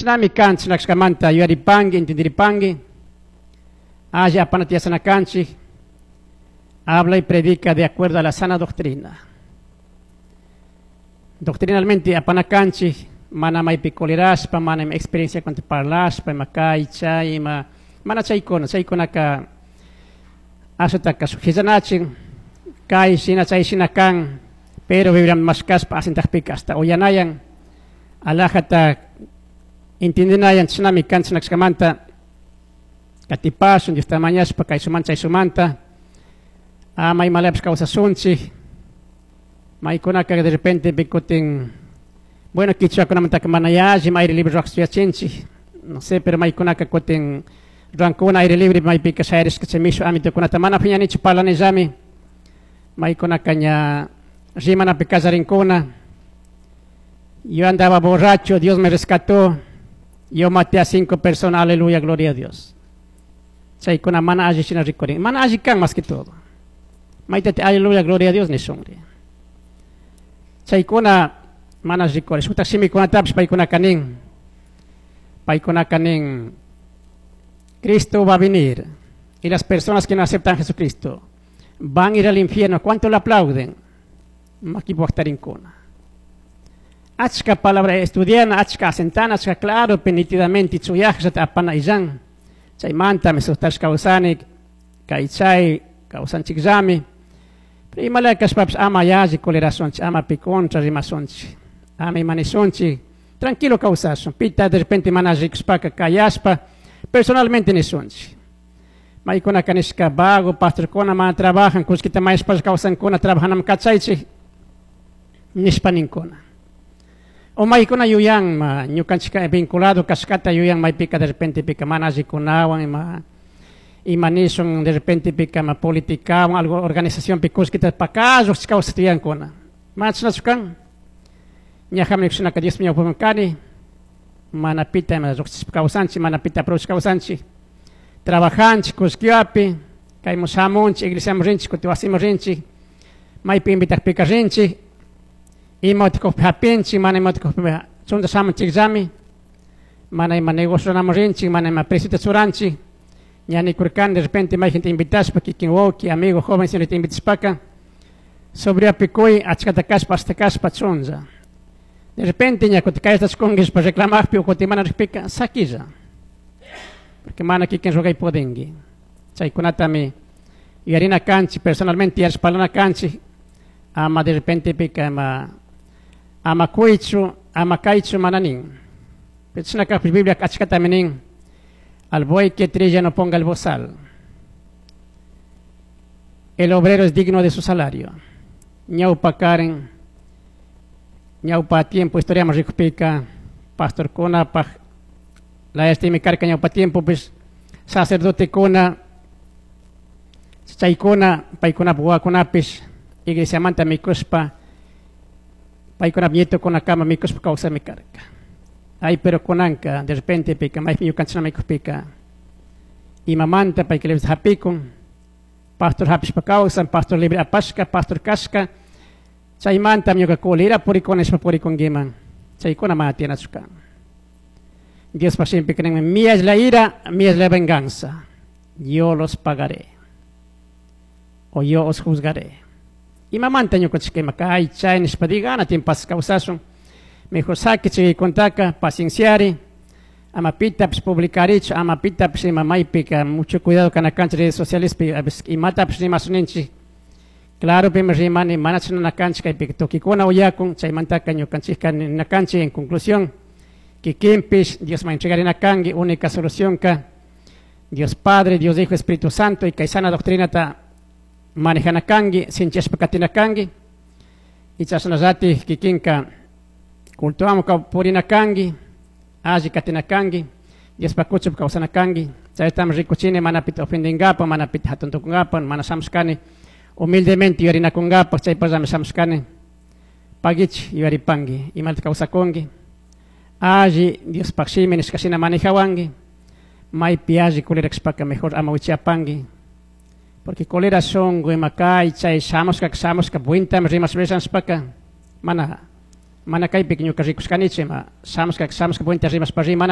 Chinami kan chinakshkamanta yuyaripanki, entenderipangui. Alli apanata yachana kanchik. Habla y predica de acuerdo a la sana doctrina. Doctrinalmente apana kanchik, mana maypi colerashpa, mana ima experiencia cuanta parlashpa, ima kay, chay, ima, mana chaykuna, chaykunaka ashataka shuk hillanachin, kay shina, chay shina kan, pero Biblia mashkashpa asintakpika hasta uyanayan, alajata entendinayan, chinami kan chinakshkamanta katipashun, Diosta mañashpa, kay suman, chay sumanta, ama imalapish kawsasunchik, maykunaka de repente pikutin, bueno, kichwakunamantaka mana yalli aire libre ruwaq no sé, pero maykunaka kutin ruwankuna aire libre maypika shayarishka chay mishu amitokunata mana phiñanichu parlanillami, maykunaka ña rimanapi kallarinkuna. Yo andaba borracho, Dios me rescató, yo maté a 5 personas, aleluya, gloria a Dios. Chaykuna mana alli shina rikurin, mana alli kan más que todo. Maytate aleluya, gloria a Dios nishunri. Chaykuna mana rikurin, shutak shimikunatapish paykunaka nin, paykunaka nin, Cristo va a venir y las personas que no aceptan a Jesucristo van a ir al infierno. ¿Cuánto le aplauden? Makipuaktarinkuna. Achka palabra estudiana, achka asentana, achka claro, nitidamente chuyajta apana illan. Chaymanta me kawsani, kay chay kawsanchikllami. Pero imala kashpapish ama yalli colerasunchik, ama pi contra rimasunchik, ama imanisunchik, tranquilo kawsashun. Pita de repente mana rikushpaka kayashpa, personalmente nisunchik. Maykunaka nishka vago, pastorkuna mana trabajan, kullkita mayashpa kawsankuna, trabajanam kachaychik, nishpa ninkuna. O maykuna yuyan, ma, ñukanchika vinculado kashkata yuyan maypika de repente pika mana allikunawan, ima, ima nishun de repente pika ma politikawan, algo organización pi kullkita pakalluq kawsata yuyankuna. Mana chashnachu kan. Ñajami nikushinaka Dios ñawpaman kani, mana pita ima lluqshishpa kawsanchik, mana pita aprovechashpa kawsanchik. Trabajanchik kullkiwapi, kaymun shamunchik, iglesiaman rinchik, kutin wasiman rinchik, maypi invitakpika rinchik, ima utikukpi hapinchik, mana ima utikukpi chunta shamunchikllami, mana ima negocio runaman rinchik, mana ima preciota churanchik. Ña nikurkani de repente may gente invitashpa, kikin wawki, amigo, joven, señorita invitashpaka, sobriapi kuy, achkata kashpa, hasta kashpa chunlla. De repente ña kutin kaytachkunki reclamajpi o kutin mana rikpika, sakilla. Porque mana kikin rugay pudinki. Chaykunatami yuyarina kanchik, personalmente yarishpalana kanchik, ama de repente pika ama, ama kuychu, ama kaychu mana nin. Pero chashna kajpi Biblia achkatami nin, al buey que trilla no ponga el bozal. El obrero es digno de su salario. Ñawpa karen, ñawpa tiempo, historia más rikupika, pastor kuna, paj, la este mi carca ñawpa tiempo, pues, sacerdote kuna, chaykuna, paykuna buwakunapis, iglesia manta mikuspa, paykuna nieto kuna kama mikuspa kawsa mi carca. Ay, pero kunanka, de repente pika, maypi ñukanchina mikupika, imamanta payka libre hapikun, pastor hapishpa kawsan, pastor libre apashka, pastor kashka, chaymanta ñuka kulira purikuna nishpa purikunkiman, chaykuna mana tiyanachu kan. Diospa shimpi ninmi, mía es la ira, mía es la venganza, yo los pagaré, o yo os juzgaré. Imamanta ñukanchika ima kay chay nishpa digana timpas kawsashun, mejor saqui chay contaka, pacienciari, ama pitapis publicarichu, ama pitapis ima maypika, mucho cuidado kana kancha redes sociales pi, a veces imatapis rimasuninchik. Claro, pimi rimani, mana chashna kancha kaypika tukikuna uyakun, chaymantaka ñukanchikka ninakanchik en conclusión, kikinpish Diosman entregarina kanki, única solución ka, Dios Padre, Dios Hijo, Espíritu Santo, y kay sana doctrinata manejana kanki, sinchashpa katina kanki, y chashnallati kikinka cultuamo ka purina kanki, alli katina kanki, Diospa kuchup kawsana kanki, chaytam rikuchini mana pita ofendingapa, mana pita hatun tukungapa, mana shamushkani, humildemente yuyarinakunkapa, chaypallami shamushkani, pagichi yuyaripanki, imata kawsakunki, alli Diospaj shimi nishka shina manejawanki, maypi alli kulirakshpaka mejor ama wichiapanki, porque kolera shunku ima kay chay shamushka shamushka buintami rimashpa mana mana kaypika ñuka rikushkanichu ima shamushka shamushka buinta rimashpa rimana.